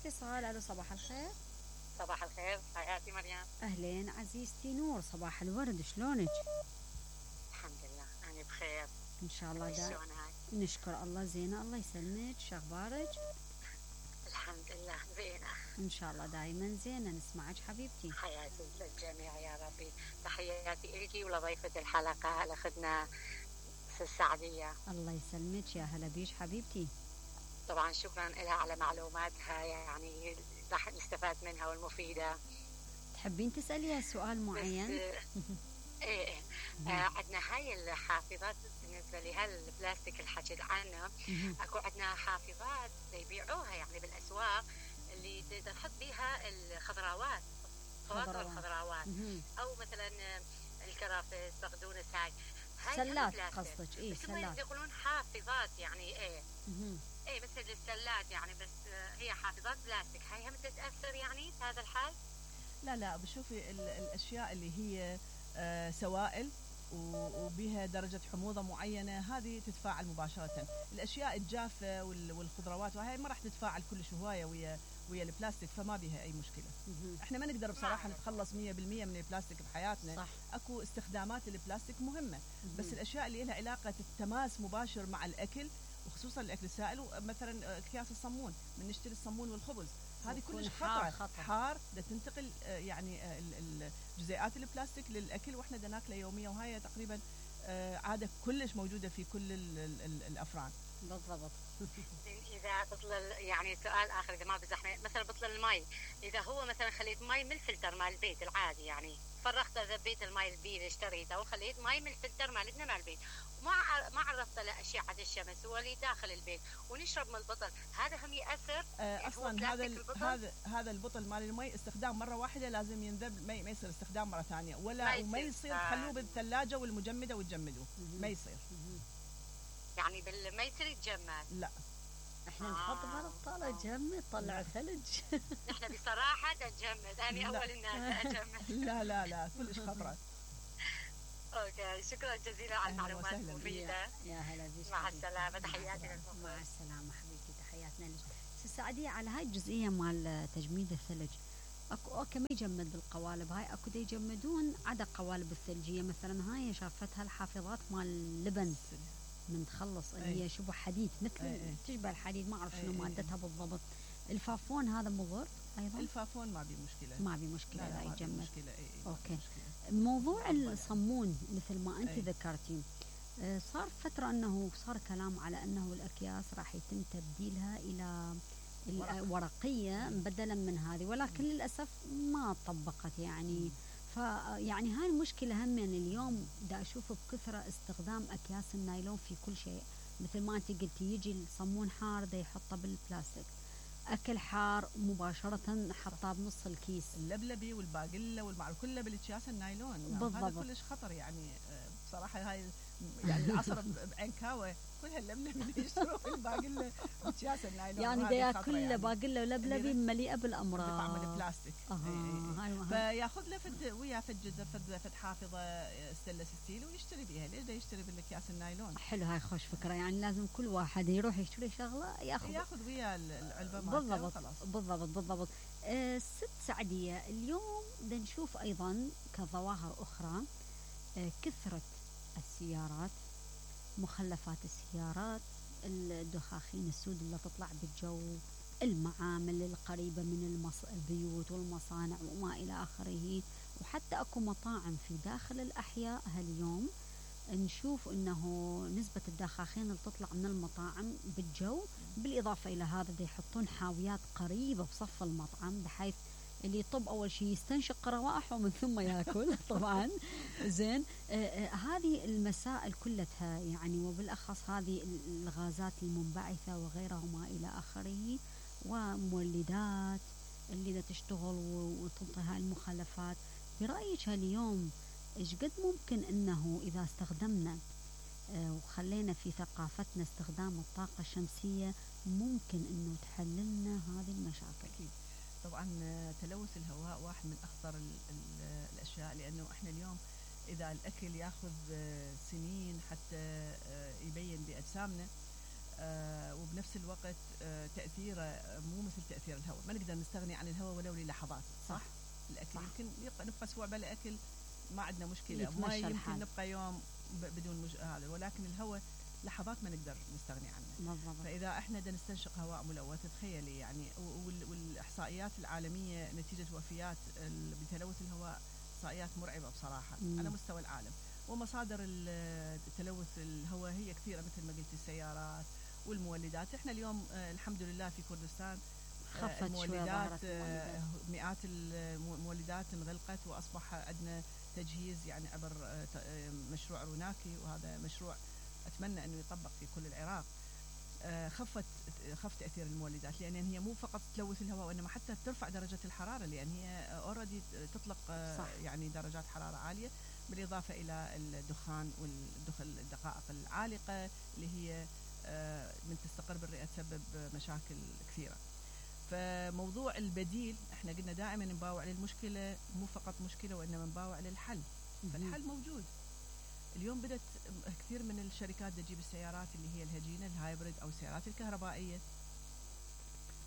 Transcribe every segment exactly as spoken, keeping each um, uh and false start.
اتصال. الو صباح الخير. صباح الخير حياتي مريم. اهلين عزيزتي نور، صباح الورد، شلونك؟ الحمد لله انا بخير ان شاء الله. دا نشكر الله. زينه الله يسلمك، شو اخبارك؟ الحمد لله زينه ان شاء الله دائما زينه. نسمعك حبيبتي. حياتي للجميع يا ربي. تحياتي لك ولضيفه الحلقه الاخذنا السعديه. الله يسلمك، يا هلا بيش حبيبتي. طبعا شكرا لها على معلوماتها، يعني راح نستفاد منها والمفيده. تحبين تساليها سؤال معين؟ ايه ايه آه عندنا هاي الحافظات بالنسبه لهالبلاستيك اللي حكيت عنه. اكو عندنا حافظات يبيعوها يعني بالاسواق اللي تحط بيها الخضروات، فواكه الخضروات، او مثلا الكرافس، بقدونس. هاي هاي سلات قصدك؟ ايه سلات يقولون حافظات يعني ايه ايه مثل السلات يعني، بس هي حافظات بلاستيك. هاي هم تتاثر يعني في هذا الحال؟ لا لا بشوفي الاشياء اللي هي آه سوائل وبها درجة حموضة معينة هذه تتفاعل مباشرة. الأشياء الجافة والخضروات وهي ما راح تتفاعل كلش هواية ويا ويا البلاستيك، فما بها أي مشكلة. احنا ما نقدر بصراحة نتخلص مية بالمية من البلاستيك بحياتنا. صح. أكو استخدامات البلاستيك مهمة، بس الأشياء اللي لها علاقة التماس مباشر مع الأكل وخصوصا الأكل السائل، مثلا أكياس الصمون، من نشتري الصمون والخبز هذه كلش خطرة. خطر. حار ده تنتقل يعني جزيئات البلاستيك للأكل واحنا دا ناكله يوميا، وهي تقريبا عادة كلش موجودة في كل ال ال ال الأفران. بالضبط. إذا بطل يعني سؤال آخر، إذا ما بزحمة مثلا بطل المي، إذا هو مثلا خليت مي من الفلتر مال البيت العادي، يعني فرغت ذبيت المي البير اللي اشتريته وخليت مي من الفلتر مالتنا مال البيت، وما ما عرضت له أشعة الشمس ولي داخل البيت ونشرب من البطل، هذا هم يأثر؟ آه أصلا هذا هذا هذا البطل مال المي استخدام مرة واحدة، لازم ينذب، ما ما يصير استخدام مرة ثانية، ولا وما يصير تخلوه بالثلاجة والمجمدة وتجمدوه، ما يصير. يعني بال ما يصير يتجمد. لا احنا نحط برطالة جمد طلع ثلج. نحن بصراحة نجمد، أنا أول الناس أجمد. لا لا لا كلش خطرة. اوكي شكرا جزيلا على المعلومات المفيدة. يا هلا بيك. مع السلامة، تحياتي لكم. مع السلامة حبيبتي، تحياتنا لك. سعدية على هاي الجزئية مال تجميد الثلج. اكو اوكي ما يجمد بالقوالب هاي، اكو دا يجمدون عدا قوالب الثلجية مثلا. هاي شافتها الحافظات مال اللبن من تخلص اللي هي شبه حديد مثل أي أي. تشبه الحديد، ما اعرف شنو مادتها بالضبط. الفافون هذا مضر ايضا؟ الفافون ما بي مشكله، ما بي مشكله. لا, لا يجمد. مشكلة. أي أي اوكي مشكلة. موضوع الصمون مثل ما انت ذكرتي، صار فتره انه صار كلام على انه الاكياس راح يتم تبديلها الى ورقيه بدلا من هذه، ولكن للاسف ما طبقت يعني. فيعني هاي المشكله هم يعني اليوم دا اشوف بكثره استخدام اكياس النايلون في كل شيء. مثل ما انت قلتي يجي الصمون حار دا يحطه بالبلاستيك، اكل حار مباشره حطاه بنص الكيس، اللبلبي والباقله والمعروف كله بالاكياس النايلون. بالضبط. هذا كلش خطر يعني بصراحه. هاي يعني العصر بعكاوه كلها اللبلبي اللي يشتروا في الباقله باكياس النايلون، يعني دا ياكل يعني. باقله ولبلبي مليئه بالامراض بطعم البلاستيك. آه. فياخذ له فد ويا فد فد فد حافظه ستانلس ستيل ويشتري بيها. ليش دا يشتري بالاكياس النايلون؟ حلو، هاي خوش فكره. يعني لازم كل واحد يروح يشتري شغله ياخذ ياخذ ويا العلبه مالته. بالضبط بالضبط بالضبط. آه ست سعديه، اليوم بدنا نشوف ايضا كظواهر اخرى آه كثره السيارات، مخلفات السيارات، الدخاخين السود اللي تطلع بالجو، المعامل القريبة من المص... البيوت والمصانع وما إلى آخره، وحتى أكو مطاعم في داخل الأحياء هاليوم نشوف أنه نسبة الدخاخين اللي تطلع من المطاعم بالجو. بالإضافة إلى هذا دي يحطون حاويات قريبة بصف المطعم بحيث اللي يطب أول شيء يستنشق روائحه ومن ثم يأكل طبعا. زين آه آه هذه المسائل كلها يعني، وبالأخص هذه الغازات المنبعثة وغيرها وما إلى آخره، ومولدات اللي دا تشتغل وتنطي هاي المخلفات. برأيك اليوم إيش قد ممكن أنه إذا استخدمنا آه وخلينا في ثقافتنا استخدام الطاقة الشمسية ممكن أنه تحللنا هذه المشاكل؟ أكيد طبعا. تلوث الهواء واحد من أخطر ال ال الأشياء، لأنه إحنا اليوم إذا الأكل ياخذ سنين حتى يبين بأجسامنا، آه وبنفس الوقت آه تأثيره مو مثل تأثير الهواء، ما نقدر نستغني عن الهواء ولو للحظات. صح, صح؟ الأكل صح. يمكن نبقى أسبوع بلا أكل ما عندنا مشكلة، ما يمكن الحال. نبقى يوم بدون مش... هذا، ولكن الهواء لحظات ما نقدر نستغني عنه. بالضبط. فإذا احنا بدنا نستنشق هواء ملوث، تخيلي يعني، وال... والإحصائيات العالمية نتيجة وفيات بتلوث الهواء إحصائيات مرعبة بصراحة مم. على مستوى العالم. ومصادر التلوث الهواء هي كثيرة مثل ما قلت، السيارات والمولدات. احنا اليوم الحمد لله في كردستان المولدات مئات المولدات انغلقت، واصبح عندنا تجهيز يعني عبر مشروع روناكي، وهذا مشروع اتمنى انه يطبق في كل العراق. خفت خف تاثير المولدات، لان هي مو فقط تلوث الهواء وانما حتى ترفع درجه الحراره، لان هي اوريدي تطلق صح. يعني درجات حراره عاليه، بالاضافه الى الدخان والدقائق العالقه اللي هي من تستقر بالرئه تسبب مشاكل كثيره. فموضوع البديل احنا قلنا دائما نباوع للمشكله، مو فقط مشكله وانما نباوع للحل. فالحل موجود. اليوم بدت كثير من الشركات تجيب السيارات اللي هي الهجينه الهايبريد او السيارات الكهربائيه،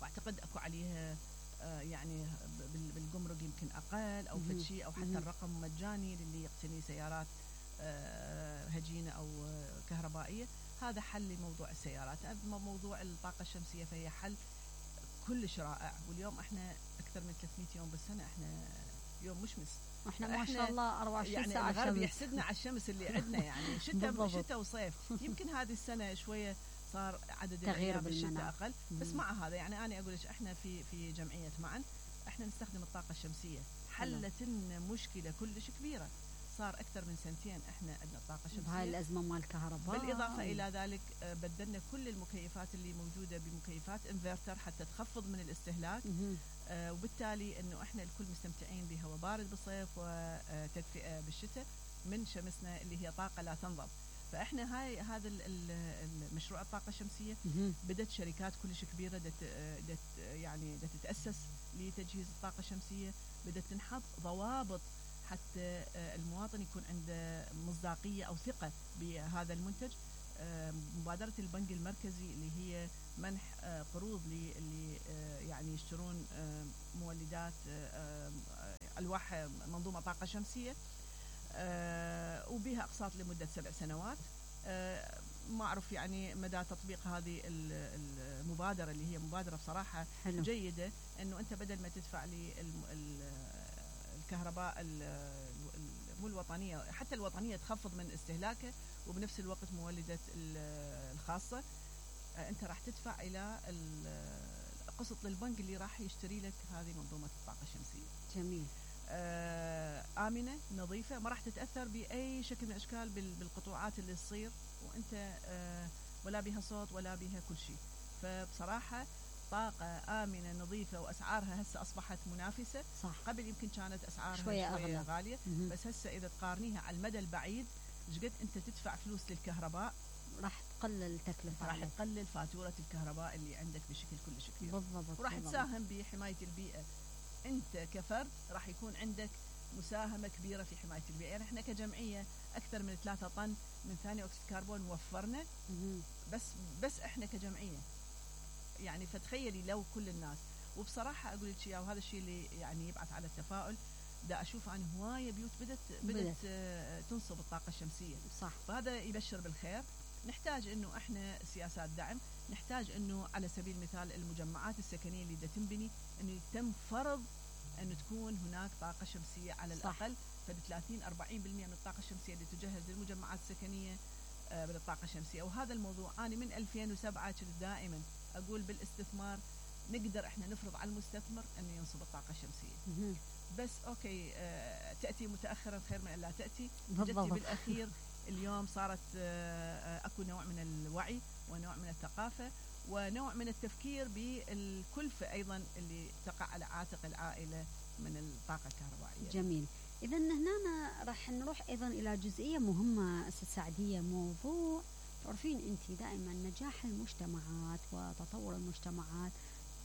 واعتقد اكو عليها يعني بالجمرك يمكن اقل او فد شيء، او حتى الرقم مجاني للي يقتني سيارات هجينه او كهربائيه. هذا حل لموضوع السيارات. اما موضوع الطاقه الشمسيه فهي حل كلش رائع. واليوم احنا اكثر من ثلاثمئة يوم بالسنه احنا يوم مشمس، واحنا ما شاء الله أربعة وعشرين يعني ساعه الغرب يحسدنا على الشمس اللي عندنا، يعني شتاء شتاء وصيف. يمكن هذه السنه شويه صار عدد الايام بالشتاء اقل، بس مع هذا يعني انا اقول لك احنا في في جمعيه معا احنا نستخدم الطاقه الشمسيه، حلت لنا مشكله كلش كبيره. صار اكثر من سنتين احنا عندنا الطاقه الشمسيه بهاي الازمه مال الكهرباء. بالاضافه الى ذلك بدلنا كل المكيفات اللي موجوده بمكيفات انفرتر حتى تخفض من الاستهلاك. آه وبالتالي انه احنا الكل مستمتعين بهواء بارد بالصيف وتدفئه بالشتاء من شمسنا اللي هي طاقه لا تنضب. فاحنا هاي هذا المشروع الطاقه الشمسيه بدت شركات كلش كبيره دت دت يعني دت تتاسس لتجهيز الطاقه الشمسيه، بدت تنحط ضوابط حتى المواطن يكون عنده مصداقيه او ثقه بهذا المنتج. مبادره البنك المركزي اللي هي منح قروض اللي يعني يشترون مولدات الواح منظومه طاقه شمسيه، وبها اقساط لمده سبع سنوات. ما اعرف يعني مدى تطبيق هذه المبادره اللي هي مبادره بصراحه حلو. جيده، انه انت بدل ما تدفع لي الكهرباء مو الوطنيه، حتى الوطنيه تخفض من استهلاكه، وبنفس الوقت مولده الخاصه انت راح تدفع الى قسط للبنك اللي راح يشتري لك هذه منظومه الطاقه الشمسيه. جميل. آه امنه نظيفه، ما راح تتاثر باي شكل من الاشكال بالقطوعات اللي تصير، وانت آه ولا بها صوت ولا بها كل شيء. فبصراحه طاقه امنه نظيفه، واسعارها هسه اصبحت منافسه. صح. قبل يمكن كانت اسعارها شويه, شوية أغلى. غاليه، م-م. بس هسه اذا تقارنيها على المدى البعيد ايش قد انت تدفع فلوس للكهرباء، راح تقلل التكلفه، راح تقلل فاتوره الكهرباء اللي عندك بشكل كلش كبير. بالضبط. وراح تساهم بحمايه البيئه. انت كفرد راح يكون عندك مساهمه كبيره في حمايه البيئه. يعني احنا كجمعيه اكثر من ثلاثة طن من ثاني اكسيد الكربون موفرنا، م-م. بس بس احنا كجمعيه. يعني فتخيلي لو كل الناس. وبصراحه اقول لك اياه، وهذا الشيء اللي يعني يبعث على التفاؤل، دا اشوف عن هوايه بيوت بدت بدت, بدت. آه تنصب الطاقه الشمسيه. صح. فهذا يبشر بالخير. نحتاج انه احنا سياسات دعم، نحتاج انه على سبيل المثال المجمعات السكنيه اللي دا تنبني انه يتم فرض انه تكون هناك طاقه شمسيه على الاقل فد ثلاثين أربعين بالمئة من الطاقه الشمسيه اللي تجهز للمجمعات السكنيه آه بالطاقه الشمسيه. وهذا الموضوع انا من ألفين وسبعة كنت دائما اقول بالاستثمار نقدر احنا نفرض على المستثمر انه ينصب الطاقه الشمسيه. بس اوكي آه تاتي متاخرا خير من لا تاتي. جتي بالاخير اليوم صارت آه اكو نوع من الوعي ونوع من الثقافه ونوع من التفكير بالكلفه ايضا اللي تقع على عاتق العائله من الطاقه الكهربائيه. جميل. اذا هنا راح نروح ايضا الى جزئيه مهمه استاذ سعديه، موضوع تعرفين انت دائما نجاح المجتمعات وتطور المجتمعات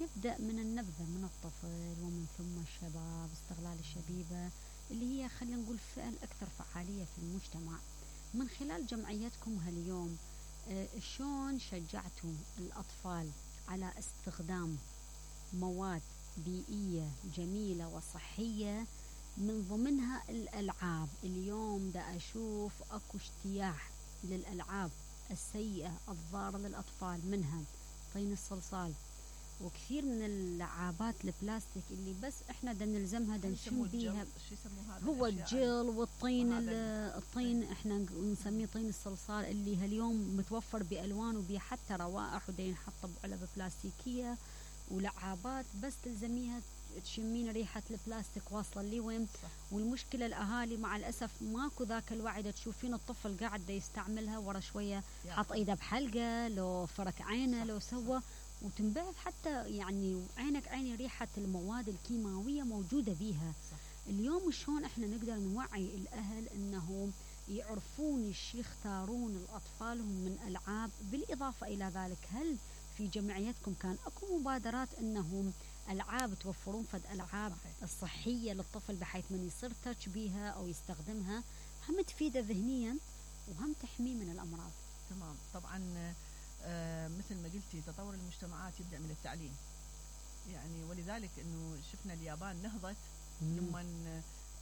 يبدأ من النبذة، من الطفل ومن ثم الشباب، استغلال الشبيبة اللي هي خلينا نقول الفئة الأكثر فعالية في المجتمع. من خلال جمعيتكم هاليوم آه شلون شجعتوا الأطفال على استخدام مواد بيئية جميلة وصحية من ضمنها الألعاب؟ اليوم دا أشوف أكو اجتياح للألعاب السيئة الضارة للأطفال، منها طين الصلصال وكثير من اللعابات البلاستيك اللي بس احنا دا نلزمها دا نشم بيها. هو الجل والطين الطين احنا نسميه طين الصلصال اللي هاليوم متوفر بألوان وبيه حتى روائح ودا ينحط بعلب بلاستيكية ولعابات بس تلزميها تشمين ريحة البلاستيك واصلة لي وين. والمشكلة الأهالي مع الأسف ماكو ذاك الوعي، دا تشوفين الطفل قاعد دا يستعملها ورا شوية حط ايده بحلقة لو فرك عينه لو سوى وتنبعث حتى يعني عينك عيني ريحة المواد الكيماوية موجودة بيها. صح. اليوم شلون احنا نقدر نوعي الأهل انهم يعرفون ايش يختارون لأطفالهم من ألعاب؟ بالإضافة إلى ذلك هل في جمعيتكم كان اكو مبادرات انهم ألعاب توفرون فد ألعاب الصحية للطفل بحيث من يصير تاتش بيها أو يستخدمها هم تفيده ذهنيا وهم تحميه من الأمراض؟ تمام. طبعا آه مثل ما قلتي تطور المجتمعات يبدأ من التعليم، يعني ولذلك أنه شفنا اليابان نهضت لما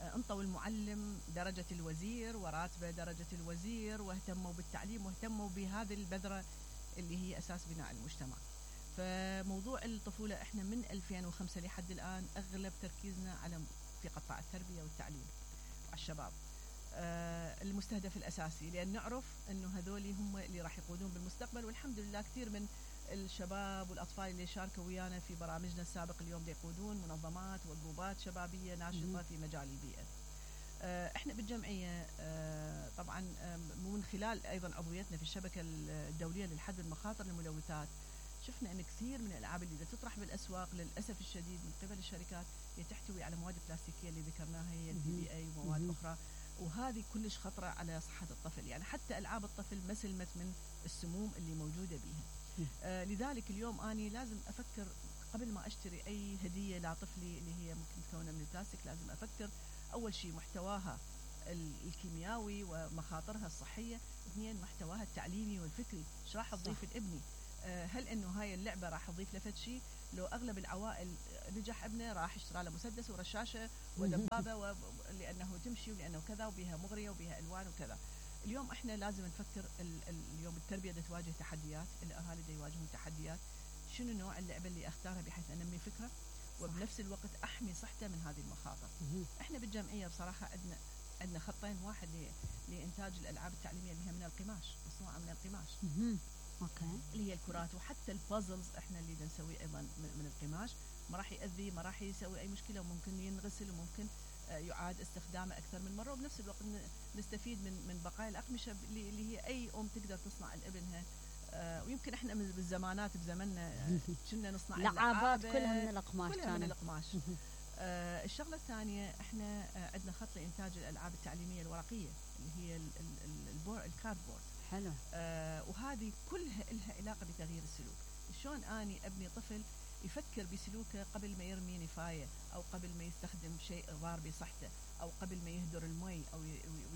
آه انطوا المعلم درجة الوزير وراتبه درجة الوزير واهتموا بالتعليم واهتموا بهذه البذرة اللي هي أساس بناء المجتمع. فموضوع الطفولة احنا من ألفين وخمسة لحد الآن أغلب تركيزنا على في قطاع التربية والتعليم وعلى الشباب آه المستهدف الأساسي، لأن نعرف أنه هذولي هم اللي راح يقودون بالمستقبل. والحمد لله كثير من الشباب والأطفال اللي شاركوا ويانا في برامجنا السابق اليوم يقودون منظمات وجروبات شبابية ناشطة في مجال البيئة. آه احنا بالجمعية آه طبعا آه من خلال أيضا عضويتنا في الشبكة الدولية للحد من مخاطر الملوثات شفنا أن كثير من الألعاب اللي تطرح بالأسواق للأسف الشديد من قبل الشركات هي تحتوي على مواد بلاستيكية اللي ذكرناها هي البي بي اي ومواد أخرى، وهذه كلش خطرة على صحة الطفل. يعني حتى ألعاب الطفل ما سلمت من السموم اللي موجودة بها. آه لذلك اليوم أنا لازم أفكر قبل ما أشتري أي هدية لطفلي اللي هي ممكن تكون من البلاستيك، لازم أفكر أول شيء محتواها الكيميائي ومخاطرها الصحية، اثنين محتواها التعليمي والفكري، ايش راح تضيف لابني؟ هل انه هاي اللعبه راح تضيف له شيء؟ لو اغلب العوائل نجح ابنه راح يشتري له مسدس ورشاشه ودبابه و... لانه تمشي ولانه كذا وبها مغريه وبها الوان وكذا. اليوم احنا لازم نفكر ال... ال... اليوم التربيه دا تواجه تحديات، الاهالي دا يواجهون تحديات، شنو نوع اللعبه اللي اختارها بحيث انمي فكره وبنفس الوقت احمي صحته من هذه المخاطر. احنا بالجمعيه بصراحه عندنا عندنا خطين، واحد لانتاج الالعاب التعليميه اللي هي من القماش، مصنوعه من القماش اوكي اللي هي الكرات، وحتى البازلز احنا اللي نسويه ايضا من القماش، ما راح يأذي ما راح يسوي اي مشكله وممكن ينغسل وممكن يعاد استخدامه اكثر من مره، وبنفس الوقت نستفيد من من بقايا الاقمشه اللي هي اي ام تقدر تصنع لابنها. آه ويمكن احنا من بالزمانات بزمننا كنا نصنع لعابات كلها من القماش، كلها من القماش. آه الشغله الثانيه احنا آه عندنا خط لانتاج الالعاب التعليميه الورقيه اللي هي الكاردبورد. حلو. آه وهذه كلها لها علاقه بتغيير السلوك. شلون اني ابني طفل يفكر بسلوكه قبل ما يرمي نفايه او قبل ما يستخدم شيء ضار بصحته او قبل ما يهدر المي او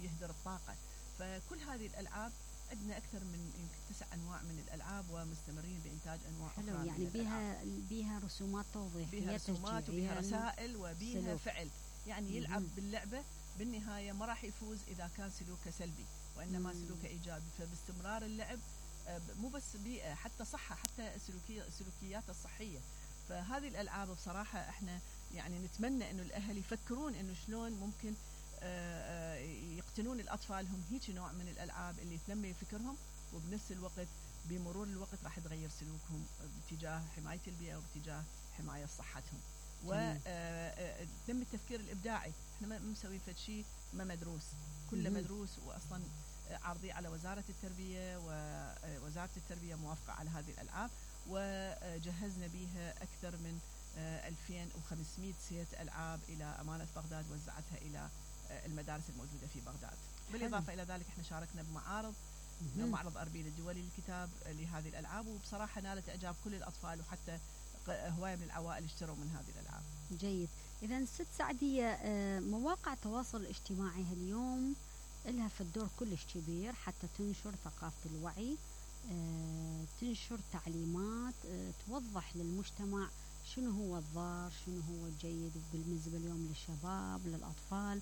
يهدر الطاقه. فكل هذه الالعاب عندنا اكثر من يمكن تسع انواع من الالعاب ومستمرين بانتاج انواع حلو. اخرى. يعني بها بها رسومات توضيحيه، بها رسومات وبها رسائل وبها فعل، يعني يلعب باللعبه بالنهايه ما راح يفوز اذا كان سلوكه سلبي وانما مم. سلوكه ايجابي. فباستمرار اللعب مو بس بيئه حتى صحه، حتى سلوكيه سلوكيات الصحيه. فهذه الالعاب بصراحه احنا يعني نتمنى انه الاهل يفكرون انه شلون ممكن يقتنون الاطفالهم هيك نوع من الالعاب اللي تنمي فكرهم، وبنفس الوقت بمرور الوقت راح تغير سلوكهم باتجاه حمايه البيئه وباتجاه حمايه صحتهم. وتنمي التفكير الابداعي. احنا ما مسوين فد شيء ما مدروس، كله مدروس واصلا عارضي على وزاره التربيه، ووزاره التربيه موافقه على هذه الالعاب، وجهزنا بها اكثر من ألفين وخمسمئة سيت العاب الى امانه بغداد، وزعتها الى المدارس الموجوده في بغداد. بالاضافه الى ذلك احنا شاركنا بمعارض معرض اربيل الدولي للكتاب لهذه الالعاب، وبصراحه نالت اعجاب كل الاطفال وحتى هوايه من العوائل اشتروا من هذه الالعاب. جيد. اذا ست سعديه مواقع التواصل الاجتماعي اليوم لها في الدور كلش كبير حتى تنشر ثقافه الوعي آه تنشر تعليمات آه توضح للمجتمع شنو هو الضار، شنو هو الجيد بالنسبة اليوم للشباب للأطفال.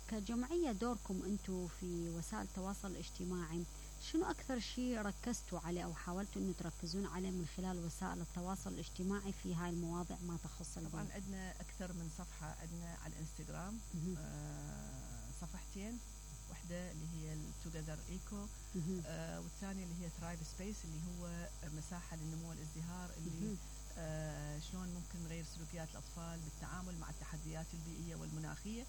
كجمعية دوركم أنتم في وسائل التواصل الاجتماعي، شنو أكثر شيء ركزتوا عليه أو حاولتوا أنه تركزون عليه من خلال وسائل التواصل الاجتماعي في هاي المواضيع ما تخص البيئة؟ طبعا عندنا أكثر من صفحة، عندنا على الانستغرام آه صفحتين، واحدة اللي هي التوجذر ايكو آه والثانية اللي هي ثرايف سبيس اللي هو مساحة للنمو والازدهار، اللي آه شلون ممكن نغير سلوكيات الأطفال بالتعامل مع التحديات البيئية والمناخية.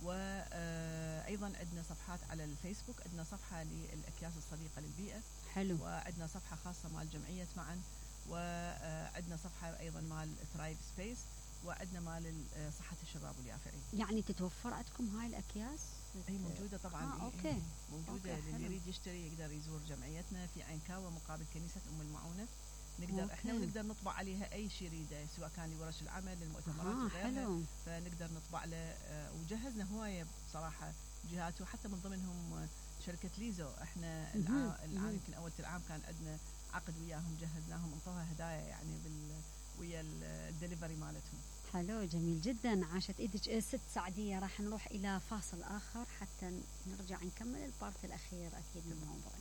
وأيضا عندنا صفحات على الفيسبوك، عندنا صفحة للأكياس الصديقة للبيئة، حلو، وعندنا صفحة خاصة مال جمعية معا، وعندنا صفحة أيضا مال ثرايف سبيس، وعندنا مال صحة الشباب واليافعين. يعني تتوفر عندكم هاي الأكياس؟ هي موجودة طبعا. آه، أوكي. موجودة، أوكي، اللي يريد يشتري يقدر يزور جمعيتنا في عينكاوة مقابل كنيسة أم المعونة. نقدر أوكي. احنا ونقدر نطبع عليها اي شيء يريده، سواء كان لورش العمل للمؤتمرات آه وغيرها، فنقدر نطبع له. آه وجهزنا هوايه بصراحه جهات، وحتى من ضمنهم شركه ليزو. احنا العام يمكن اول العام كان عندنا عقد وياهم، جهزناهم، انطوها هدايا يعني بال ويا الدليفري مالتهم. حلو، جميل جدا، عاشت ايدك ست سعديه. راح نروح الى فاصل اخر حتى نرجع نكمل البارت الاخير اكيد من الموضوع.